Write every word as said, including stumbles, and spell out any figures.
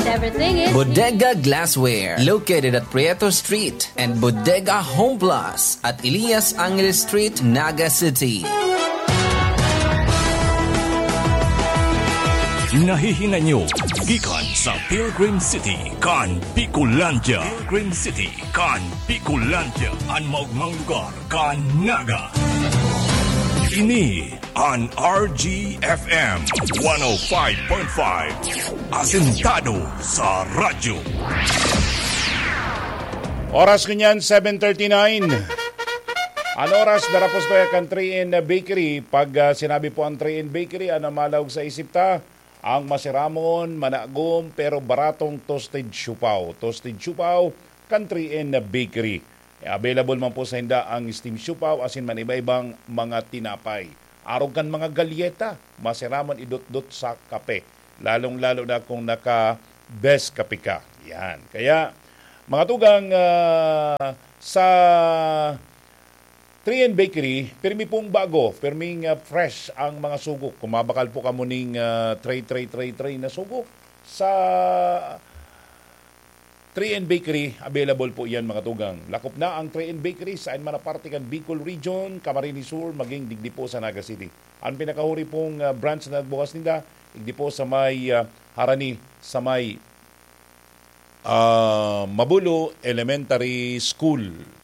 Everything is Bodega Glassware, located at Prieto Street, and Bodega Home Plus at Elias Angeles Street, Naga City. Nahihinanyo gikan sa Pilgrim City kan Bicolandia. Pilgrim City kan Bicolandia, an maogmang lugar kan Naga. Ini an R G F M one oh five point five, asentado sa radyo. Oras ngunyan, seven thirty-nine. An oras, darapos to kan three N Bakery. Pag ah, sinabi po ang three N Bakery, ano malaog sa isip ta? Ang masiramon, managom, pero baratong toasted siopao. Toasted siopao kan three N Bakery. Available man po sa inda ang steam siopao asin man iba-ibang mga tinapay. Arog kan mga galyeta, masiramon idotdot sa kape. Lalong-lalo na kung naka-best kape ka. Yan. Kaya, mga tugang, ah, sa three N Bakery, pirmi pong bago, pirming ah, fresh ang mga sugo. Kung mabakal po kamo ning ah, tray, tray, tray, tray na sugo, sa three N Bakery, available po yan, mga tugang. Lakop na ang three N Bakery sa man na parte kan Bicol Region, Camarines Sur, maging digdi po sa Naga City. Ang pinakahuri pong ah, branch na nagbukas ninda, digdi po sa may ah, Harani, sa may ah, Mabulo Elementary School.